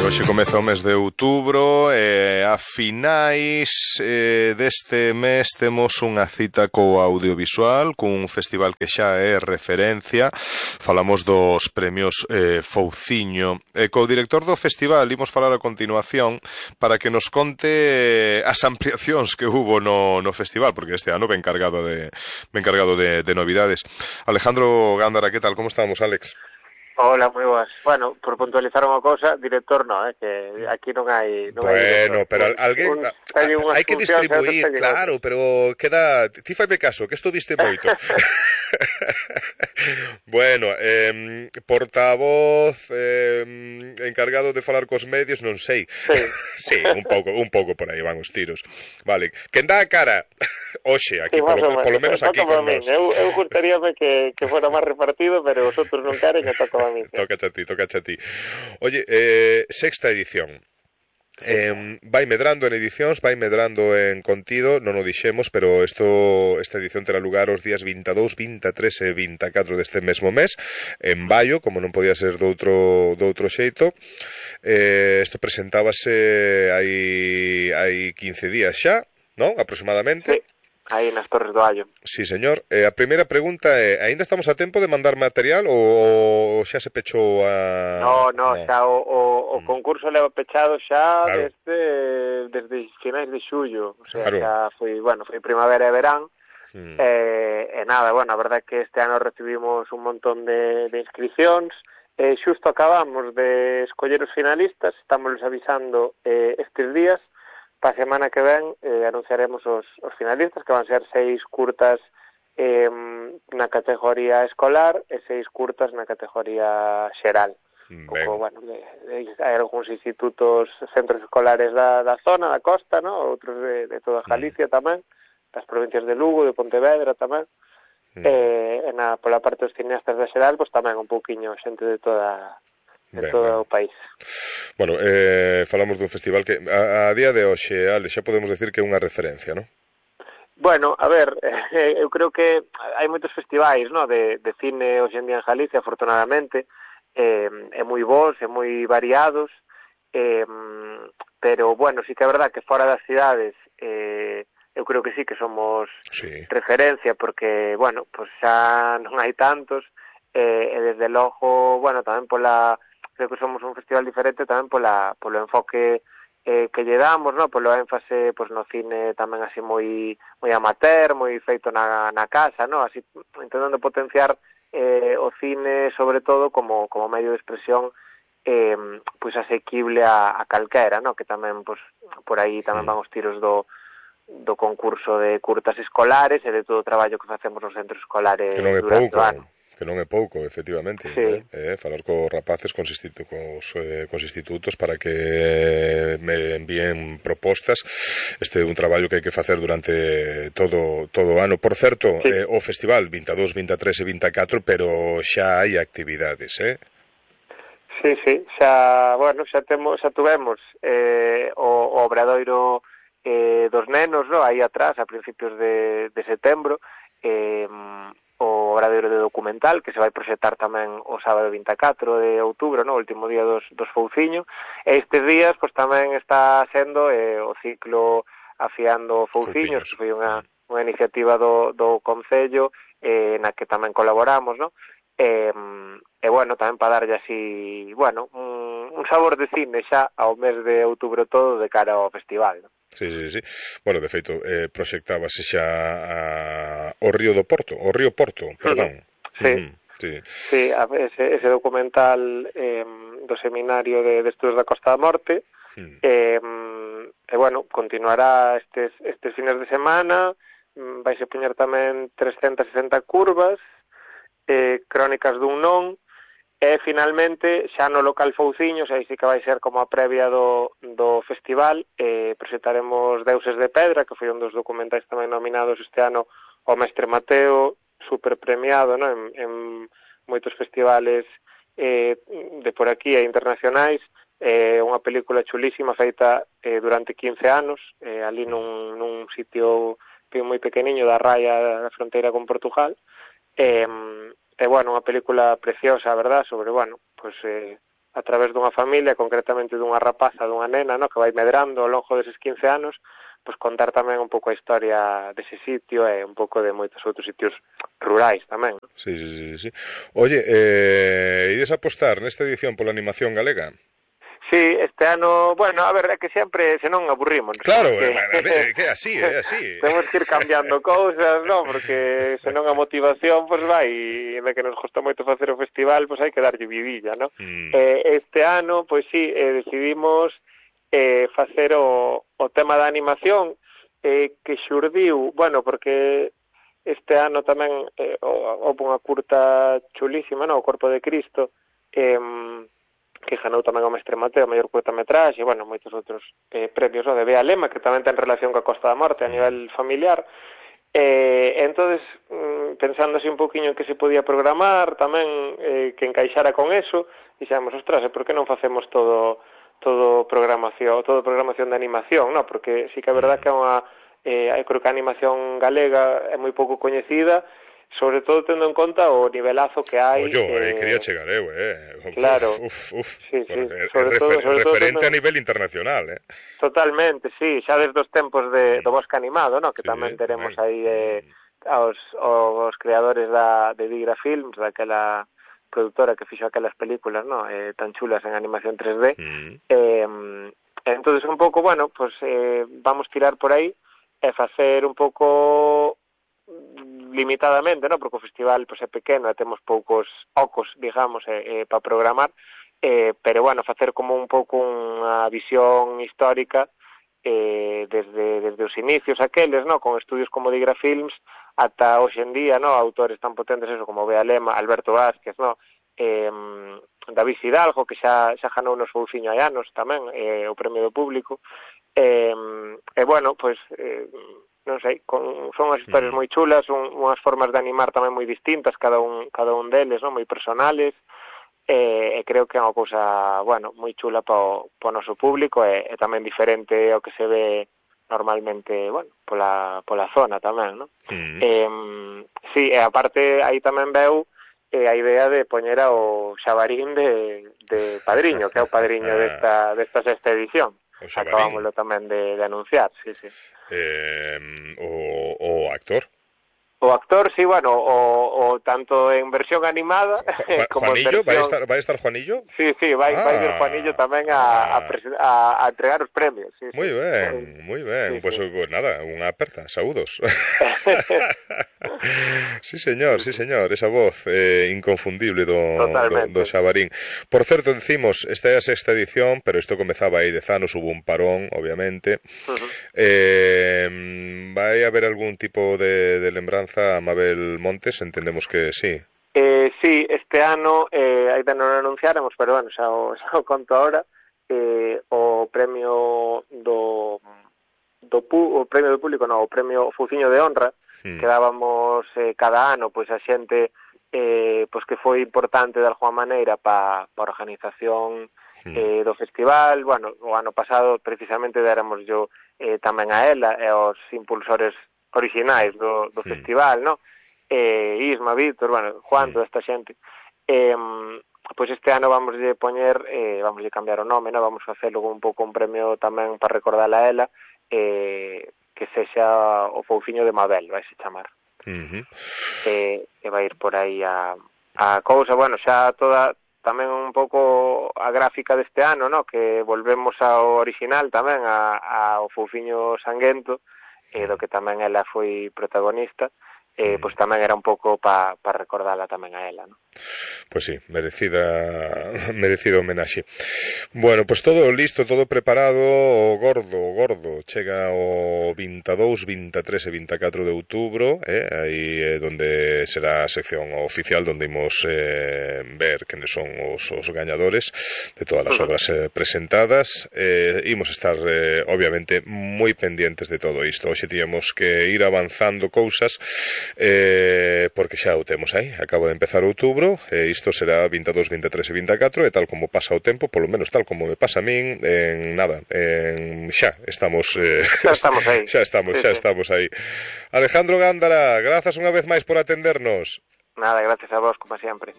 Hoxe comeza o mes de outubro e a finais deste mes temos unha cita co audiovisual, cun festival que xa é referencia. Falamos dos premios Fouciño. Co director do festival imos falar a continuación para que nos conte as ampliacións que hubo no festival, porque este ano ven cargado de novidades. Alejandro Gándara, que tal? Como estamos, Alex? Hola, moi boas. Bueno, por puntualizar unha cousa, director non, que aquí non hai... Bueno, pero alguén... hai que distribuir, claro, pero queda... Ti faime caso, que isto viste moito. Bueno, portavoz encargado de falar cos medios, non sei. Sí, un pouco por aí van os tiros. Vale, quen dá a cara hoxe aquí, polo menos aquí con nós. Eu gustaríame que fora máis repartido, pero os outros non queren e toca a mí. Tocache a ti. Oye, sexta edición. Vai medrando en edicións, vai medrando en contido, non o dixemos, pero esta edición terá lugar os días 22, 23 e 24 deste mesmo mes, en Baio, como non podía ser doutro xeito. Isto presentábase hai 15 días xa, non? Aproximadamente. Sí. Aí nas Torres do Allo. Sí, señor. A primeira pregunta é, aínda estamos a tempo de mandar material ou xa se pechou a... No, xa o concurso leva pechado xa, claro, desde finais de xullo. O sea, claro, xa foi primavera e verán. E nada, bueno, a verdade é que este ano recibimos un montón de inscripcións. Xusto acabamos de escoller os finalistas, estamos avisando estes días. Pa semana que ven anunciaremos os finalistas, que van ser 6 curtas na categoría escolar e 6 curtas na categoría xeral. Bueno, hai algúns institutos, centros escolares da zona, da costa, ¿no? Outros de toda Galicia tamén, das provincias de Lugo, de Pontevedra tamén. Pola parte dos cineastas da xeral, pois tamén un pouquiño xente de todo o país. Bueno, falamos dun festival que a día de hoxe, Ale, xa podemos decir que é unha referencia, non? Bueno, a ver, eu creo que hai moitos festivais, ¿no? de cine hoxe en día en Galicia, afortunadamente, é moi bons, é moi variados, pero, bueno, sí que é verdad que fora das cidades eu creo que sí que somos referencia, porque, bueno, pues xa non hai tantos, e desde logo, bueno, tamén creo que somos un festival diferente tamén polo enfoque que lle damos, ¿no? Polo énfase pues, no cine tamén así moi amateur, moi feito na casa, ¿no? Así intentando potenciar o cine sobre todo como medio de expresión pues asequible a calquera, ¿no? Que tamén pues, por aí tamén van os tiros do concurso de curtas escolares e de todo o traballo que facemos nos centros escolares durante o ano. Que non é pouco, efectivamente, sí. Falar cos rapaces, cos institutos para que me envíen propostas. Este é un traballo que hai que facer durante todo o ano. Por certo, sí. O festival 22, 23 e 24, pero xa hai actividades, Sí, xa tuvemos o obradoiro dos nenos, ¿no? Aí atrás, a principios de setembro, o obradoiro de documental que se vai proxectar tamén o sábado 24 de outubro, no? O último día dos Fouciño, e estes días pois tamén está sendo o ciclo Afiando Fouciños, que foi unha iniciativa do Concello na que tamén colaboramos, no? E bueno, tamén para darlle así, bueno, un sabor de cine xa ao mes de outubro todo de cara ao festival, no? Sí. Bueno, de feito, proxectábase xa o Río Porto, perdón. Sí, ese documental do Seminario de Estudos da Costa da Morte, e bueno, continuará estes fines de semana, vaise poñer tamén 360 curvas, crónicas dun non, e finalmente xa no local Fouciños, aí sí que vai ser como a previa do festival, presentaremos Deuses de Pedra, que foi un dos documentais tamén nominados este ano ao Mestre Mateo, super premiado, ¿no? en moitos festivales de por aquí e internacionais, unha película chulísima feita durante 15 anos, ali nun sitio moi pequeniño da raya da fronteira con Portugal, bueno, unha película preciosa, a verdad, sobre, bueno, pues a través dunha familia, concretamente dunha rapaza, dunha nena, no, que vai medrando ao longo deses 15 anos, pois contar tamén un pouco a historia dese sitio e un pouco de moitos outros sitios rurais tamén. Sí. Oye, ides apostar nesta edición pola animación galega? Sí, este ano, bueno, a ver, é que sempre se non aburrimos. Claro, que é así. Temos que ir cambiando cousas, non? Porque se non a motivación, pois vai, e de que nos gusta moito facer o festival, pois hai que darlle vidilla, non? Este ano, pois sí, decidimos facer o tema da animación que xurdiu, bueno, porque este ano tamén houve unha curta chulísima, non? O Corpo de Cristo, que ganou tamén o Mestre Mateo, a mellor curtametraxe, e, bueno, moitos outros premios, no? De Bea Lema, que tamén ten relación coa Costa da Morte a nivel familiar. Entonces, pensando así un poquinho en que se podía programar, tamén que encaixara con eso, dixemos, ostras, por que non facemos todo programación de animación, no? Porque sí que é verdad que é unha creo que a animación galega é moi pouco coñecida, sobre todo tendo en conta o nivelazo que hai. Quería chegar eu, claro. Sí, sobre todo referente a nivel internacional, Totalmente, sí, xa desde os tempos do Bosque Animado, no? Que tamén teremos aí os creadores de Digra Films, daquela produtora que fixo aquelas películas, no? Tan chulas en animación 3D. Entonces, un pouco, bueno, pues vamos tirar por aí e facer un pouco limitadamente, no? Porque o festival pois, é pequeno e temos poucos ocos, digamos, para programar, pero, bueno, facer como un pouco unha visión histórica desde os inicios aqueles, no? Con estudios como Digra Films ata hoxe en día, no? Autores tan potentes eso como Bea Lema, Alberto Vázquez, no? David Hidalgo, que xa ganou nos Fouciño hai anos tamén, o premio do público, bueno, pois non sei, son as historias moi chulas, unhas formas de animar tamén moi distintas, cada un deles, non? Moi personales, e creo que é unha cousa, bueno, moi chula para o noso público e tamén diferente ao que se ve normalmente, bueno, pola zona tamén, non? Sí, e aparte aí tamén veu a idea de poñer ao Xabarín de padriño, que é o padriño desta sexta edición. Acabámoslo tamén de anunciar, sí. O actor? O actor, sí, bueno, o tanto en versión animada como Juanillo, en versión... vai estar Juanillo? Sí, vai ir Juanillo tamén a entregar os premios. Sí, moi ben. Pues nada, unha aperta, saúdos. Sí, señor, esa voz inconfundible do Xabarín. Por certo, decimos, esta é a sexta edición, pero isto comezaba aí 10 anos, hubo un parón, obviamente. Vai haber algún tipo de lembranza a Mabel Montes, entendemos que sí. Sí, este ano ainda non o anunciáramos, pero bueno, xa o conto ahora, o premio o premio do público, o premio Fouciño de Honra, que dábamos cada ano, pois a xente pois que foi importante de alguma maneira para a organización do festival. Bueno, o ano pasado precisamente déramos yo tamén a ela e aos impulsores orixinais do festival, no? Isma, Víctor, bueno, Juan, toda esta xente. Pois este ano vamoslle poñer, vamoslle cambiar o nome, no? Vamos a facelo un pouco un premio tamén para recordarla a ela, que sexa o Fouciño de Mabel, vai se chamar. E vai ir por aí a cousa, bueno, xa toda tamén un pouco a gráfica deste ano, no? Que volvemos ao original tamén, ao Fouciño Sanguento, do que tamén ela foi protagonista, pois tamén era un pouco para recordarla tamén a ela, non? Pois sí, merecido homenaxe. Bueno, pois todo listo, todo preparado, o gordo, chega o 22, 23 e 24 de outubro, aí é onde será a sección oficial onde imos ver quenes son os gañadores de todas as obras presentadas. Imos estar, obviamente, moi pendientes de todo isto. Hoxe tiñamos que ir avanzando cousas, porque xa o temos aí, acabo de empezar outubro, isto será 22, 23 e 24, e tal como pasa o tempo, polo menos tal como me pasa a min, xa estamos aí. Xa estamos aí. Alejandro Gándara, grazas unha vez máis por atendernos. Nada, gracias a vos, como sempre.